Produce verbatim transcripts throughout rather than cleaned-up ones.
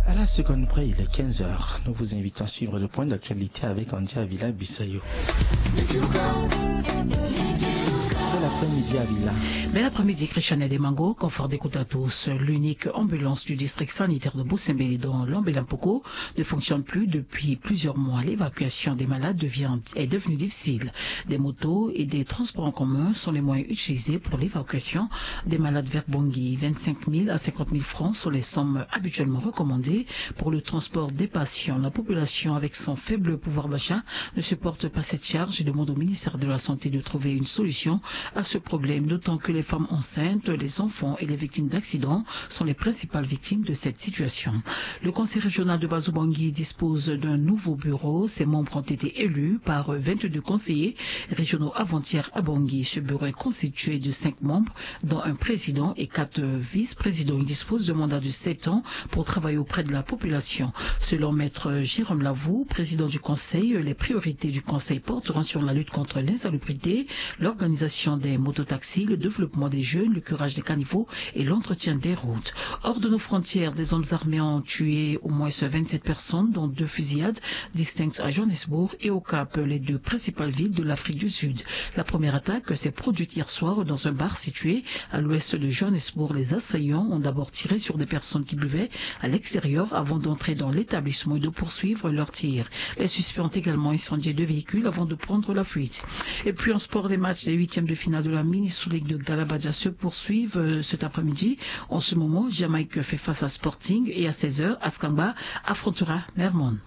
À la seconde près, il est quinze heures. Nous vous invitons à suivre le point d'actualité avec Andy Avila Bissayo. Bel après-midi, Avila. Bel après-midi, Christiane Demango. Confort d'écoute à tous. L'unique ambulance du district sanitaire de Bosembele dans l'Ambela Mpoko ne fonctionne plus depuis plusieurs mois. L'évacuation des malades devient, est devenue difficile. Des motos et des transports en commun sont les moyens utilisés pour l'évacuation des malades vers Bangui. Vingt-cinq mille à cinquante mille francs sont les sommes habituellement recommandées pour le transport des patients. La population, avec son faible pouvoir d'achat, ne supporte pas cette charge et demande au ministère de la Santé de trouver une solution à ce problème, d'autant que les femmes enceintes, les enfants et les victimes d'accidents sont les principales victimes de cette situation. Le conseil régional de Bazobangi dispose d'un nouveau bureau. Ses membres ont été élus par vingt-deux conseillers régionaux avant-hier à Bangui. Ce bureau est constitué de cinq membres, dont un président et quatre vice-présidents. Il dispose d'un mandat de sept ans pour travailler auprès de la population. Selon Maître Jérôme Lavou, président du conseil, les priorités du conseil porteront sur la lutte contre l'insalubrité, l'organisation des mototaxis, le développement des jeunes, le curage des caniveaux et l'entretien des routes. Hors de nos frontières, des hommes armés ont tué au moins vingt-sept personnes, dont deux fusillades distinctes à Johannesburg et au Cap, les deux principales villes de l'Afrique du Sud. La première attaque s'est produite hier soir dans un bar situé à l'ouest de Johannesburg. Les assaillants ont d'abord tiré sur des personnes qui buvaient à l'extérieur avant d'entrer dans l'établissement et de poursuivre leur tir. Les suspects ont également incendié deux véhicules avant de prendre la fuite. Et puis en sport, les matchs des huitièmes de finale de la Mini Sous League de Galabadja se poursuivent, euh, cet après-midi. En ce moment, Jamaïque fait face à Sporting et à seize heures, Askangba affrontera Mermon.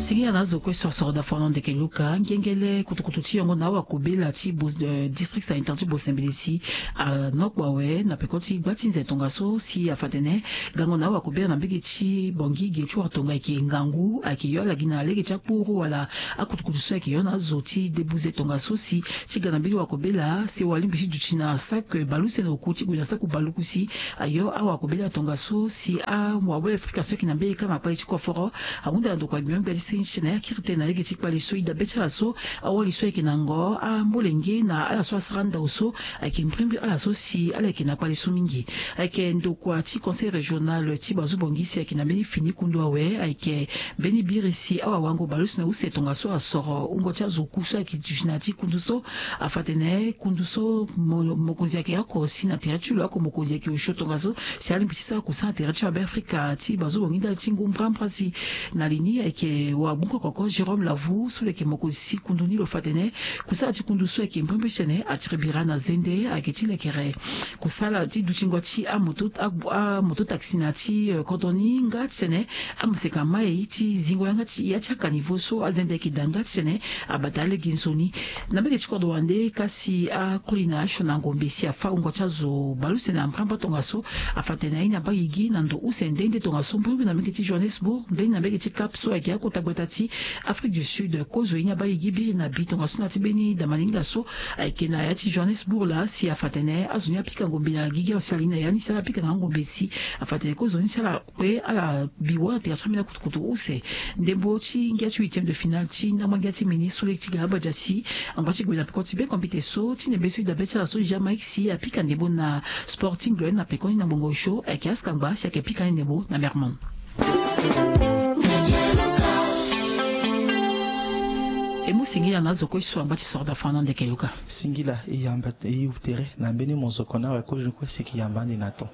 Singila na azo kue so asoro da fano ndeke luka ngengele kutukutu ti yongo na awakobela ti bo, eh, district sanitaire ti Bosembele si anokpo awe na peko ti gba ti nze tongaso si afa tene gango na awakobela na mbege ti Bangui ge ti wara tonga ayeke ngangu, ayeke yo ala gi na lege ti akpuru wala akutukutu so ayeke yo na azo ti debuze tongaso si ti ga na mbeni wakobela si walingbi ti duti na sac baleuse na oku ti gue na sac baleuse si ayo awakobela tongaso si awawele afrika so ayeke na mbeni kanga kpale ti koforo ahunda na ndokua gbia ti senge ti tene akiri tënë na lege ti kpale so e dabe ti ala so awali so ayeke na ngo amolenge na ala so asara ndau so ayeke mbrimbri ala so si ala yeke na kpale so mingi. Ayeke ndokua ti conseil régional ti Bazobangi si ayeke na mbeni fini kundu awe ayeke mbeni biri si awawango baleuse na use tongaso asoro wungo ti azo oku so ayeke duti na ya ti kundu so. Afa tene kundu so mo, mokonzi ayeke oko si na tere ti lo oko mokonzi ayeke osio tongaso si alingbi ti sara kusana na tere ti abe afrika ti Bazobangi ndali ti ngu mbrambra si na li ni ayeke wagbongo oko Jérôme Lavou so lo yeke mokonzi ti kundu ni lo fa tene kusana ti kundu so ayeke mbrimbri ti tene atiri bira na zende ayeke ti lekere kusala ti dutingo ti amoto, amoto taxi na ti, eh, kodro ni nga ti tene amaseka mai ti zingo yanga ti ya ti akanivo so azende ayeke daa nga ti tene abata alege nzoni. Na mbege ti kodro wande kasi akoli na asioni na ngombe si afa wungo ti azo baleuse na mbrambra tongaso afa tene aye ni abaa gigi na ndo use nde nde tongaso mbrimbri na mbege ti Johannesburg mbeni na mbege ti Cap so ayeke akota gbata ti Afrique du Sud. Kozo ye ni abaa gigi biri na bi tongaso na ya ti mbeni damalinga so ayeke na ya ti Johannesburg laa si afa tene azo ni apika ngombe na gigi awe si ala ye ni na ya ni si ala pika nga ngombe si afa tene kozo ni si ala kue ala bi wâ na tere ti ambeni akutukutu use. Ndembo ti ngia ti huitième de finale ti ndangba ngia ti mini sous league ti Galabadja si angba ti gue na peko ti be kompite so ti nembe so e dabe ti ala so Jamaïque si apika ndembo na Sporting lo ye na peko ni na ngbongo osio ayeke askangba si ayeke pika ni ndembo na Mermon. E mu singila na azo kue so angba ti soro da fano ndeke luka. Singila e yamba e tere na mbeni mozoko ni awe kozo kue si e yeke yamba ande na ton.